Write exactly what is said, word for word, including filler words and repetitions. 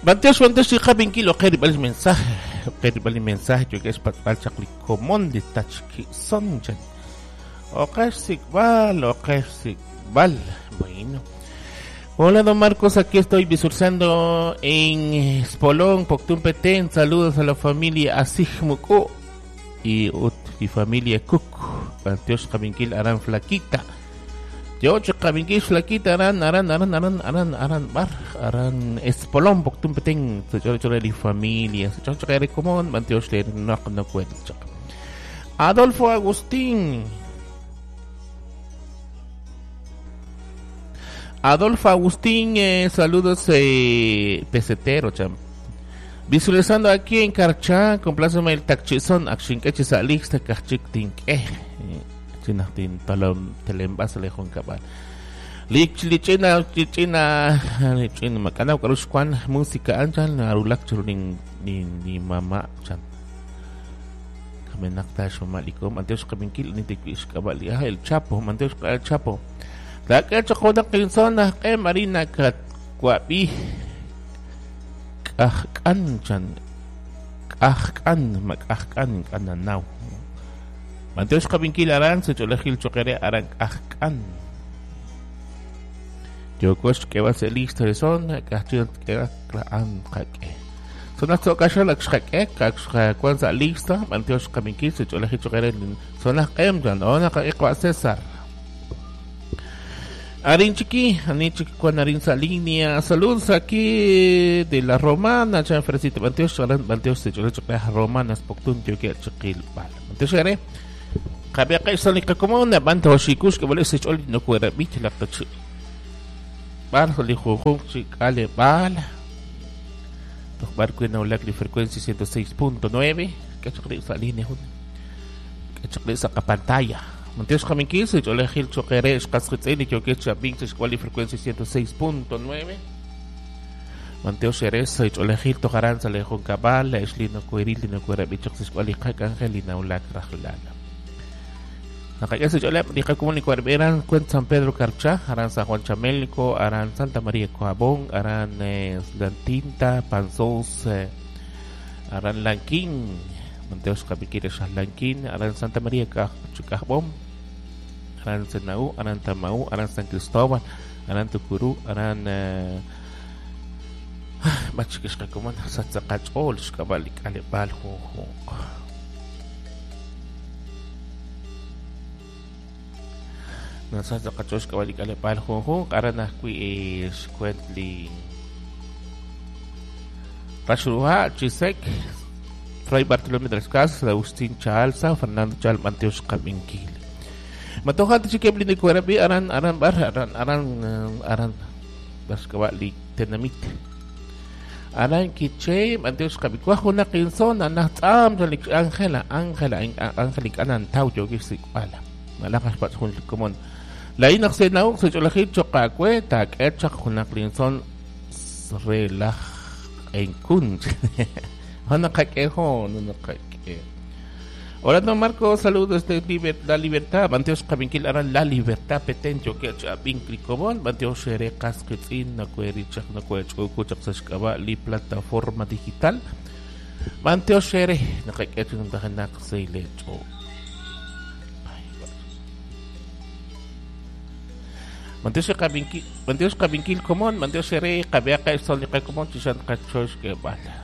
Banteos banteos qab'inkil oqer bal mensaje oqer bal mensaje yo que es patbal chaq li komon li tachki son chan oqer sikbal oqer sikbal. Bueno. Hola don Marcos, aquí estoy visualizando en Espolón, Poptún Petén. Saludos a la familia Asigmuku y ut y familia Cook. Banteos qab'inkil aran flaquita. Yo qab'inkil flaquita aran aran aran aran aran aran bar aran Espolón Poptún Petén. Chore chore li familia. Chore chore común banteos le no no cuento. Adolfo Agustín. Adolfo Agustín, eh, saludos eh, pesetero, cham. Visualizando aquí en Carchá, compláceme el tachizón, achinqueche salixta, cachictinque. Chinachtin palom telembasa lejón cabal. Lich lichina, lichina, lichina, macanao, carushcuan, música anchan, arulak churunin, ni, ni mamá, chan. Kamenaktash mamalikom, anteos kabinkil, ni tequish cabal, el Chapo, manteos el Chapo. La que chocoda quinsona que marina katwabi kajkan kajkan makajkan kananaw. Manteos kabinkil aran se cholejil choquere aran kajkan. Yo cos que va a ser listo de son kajchil que an kake. Son las ocasiones que kajka lista manteos kabinkil se cholejil choquere son las emjan ona ka César. Arin chiqui, arin chiqui con arin salinia, saludos aquí de la Romana, chan fresita, banteos, aran banteos, se chole choque romanas, poctun, yo que chiquil, bal. Banteos are, cabia que salica como una banda chicos que vale se chole no cuera bich la tachi. Bal soli juju chicale bal. Toch barco en la frecuencia ciento seis punto nueve, que choque salinia, que choque saca pantalla. Monteos Jaminquil, se cholejil choquere, escasquetzeni, choquecha, vinces, cual y frecuencia ciento seis punto nueve. Monteos Jerez, se cholejil, tojaranza, lejón cabal, eslino, cueril, no cuera, bichox, cual y jac, angelina, ulac, rajlala. Nakaya se chole, dija comunico, eran cuen San Pedro Carchá, aran San Juan Chamelco, aran Santa María Coabón, aran Lantinta, Panzós, aran Lanquín. Monteos Capiquires Lanquín, Aran Santa María Chicajbom, Aran Senaú, Aran Tamaú, Aran San Cristóbal, Aran Tucurú, Aran Machikishkakuman, Satsakachol, Xkabalik, Alebal, Juju. Nasatsakachol, Xkabalik, Alebal, Juju, Aran Ajui, Xcuentli, Rashuha, Chisek, Fray Bartolomé de las Casas, Agustín Chalza, Fernando Chal, Manteos Caminquil. Matoja chiquebli de Cuerabi, Aran, Aran, Bar, Aran, Aran, Aran, Bascabali, Tenamit. Aran Quiche, Manteos Cabicuajo, una quinzona, Natam, Ángela, Ángela, Ángelic, Anan, Tau, Yogisik, Pala. Malajas, Patjun, Comón. La Inaxenau, Secholajil, Chocacue, Tac, Echak, una quinzón, Relaj, en Kunch. Hola don Marcos, saludos de liber, La Libertad, Banteos Caminquil, Aran La Libertad, Petén, Yoquech, Abinclicobón, Banteos Xerecas, Quetzin, Nacuerichak, Nacuechcucuchac, Sashkaba, Li Plataforma Digital, Banteos Xere, Nacaquech, Nacanak, Seilecho. Banteos Caminquil, Banteos Caminquil, Comón, Banteos Xere, Cabeaca, Solica, Comón, Chishan, Cachosh, Quebala.